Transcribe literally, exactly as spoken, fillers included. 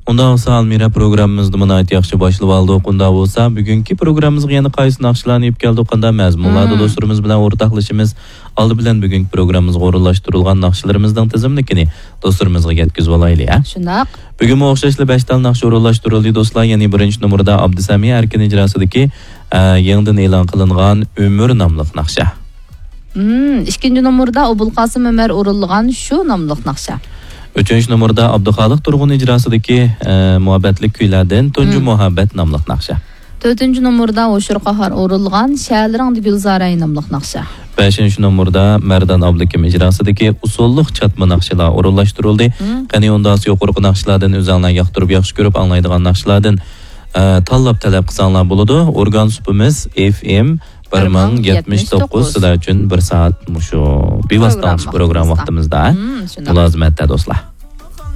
ئۇنداق بولسا، ئالمىرا پروگراممىمىزنى ناھايىتى ياخشى باشلىۋالدۇق. ئۇنداق بولسا، بۈگۈنكى پروگراممىمىزغا يەنە قايسى ناخشىلارنى ئېلىپ كەلدۇق؟ قانداق مەزمۇنلاردا مم. دوستلىرىمىز بىلەن ئورتاقلىشىمىز؟ ئالدى بىلەن بۈگۈنكى پروگراممىمىزغا ئورۇنلاشتۇرۇلغان ناخشىلىرىمىزنىڭ تىزىملىكىنى دوستلىرىمىزغا يەتكۈزۈۋالايلى، ھە؟ شۇنداق. بۈگۈنمۇ ئوخشاشلا بەش تال ناخشا ئورۇنلاشتۇرۇلدى، دوستلار. يەنى بىرىنچى نومۇردا ئابدۇسەمىي ئەركىن ئىجراسىدىكى، ئە، يېڭىدىن ئېلان قىلىنغان ئۆمۈر ناملىق ناخشا. مم، ئىككىنچى نومۇردا ئوبۇلقاسىم ئۆمەر ئورۇنلىغان شۇ ناملىق ناخشا. ئۈچىنچى نومۇردا ئابدۇخالىق تۇرغۇن ئىجراسىدىكى، ئە، مۇھەببەتلىك كۈيلەردىن تۇنجى مم. مۇھەببەت ناملىق ناخشا. تۆتىنچى نومۇردا ھوشۇر قاھار ئورۇنلىغان شەھەرلىرىڭدە گۈلزارەي ناملىق ناخشا. بەشىنچى نومۇردا مەردان ئابلىكىم ئىجراسىدىكى ئۇسسۇللۇق چاتما ناخشىلار ئورۇنلاشتۇرۇلدى. مم. قېنى ئۇنداق يۇقىرىقى ناخشىلاردىن ئۆزۈڭلار ياقتۇرۇپ ياخشى كۆرۈپ ئاڭلايدىغان ناخشىلاردىن، ئە، تاللاپ تەلەپ قىلساڭلار بولىدۇ. ئورگان سۇپىمىز ئېف ئېم بىر مىڭ يەتمىش توققۇز، سىلەر ئۈچۈن بىر سائەت مۇشۇ بىۋاسىتە پروگرامما پروگرامما ۋاقتىمىزدا. ۋاقتىمىزدا. مم، شۇنداق. مۇلازىمەتتە، دوستلار.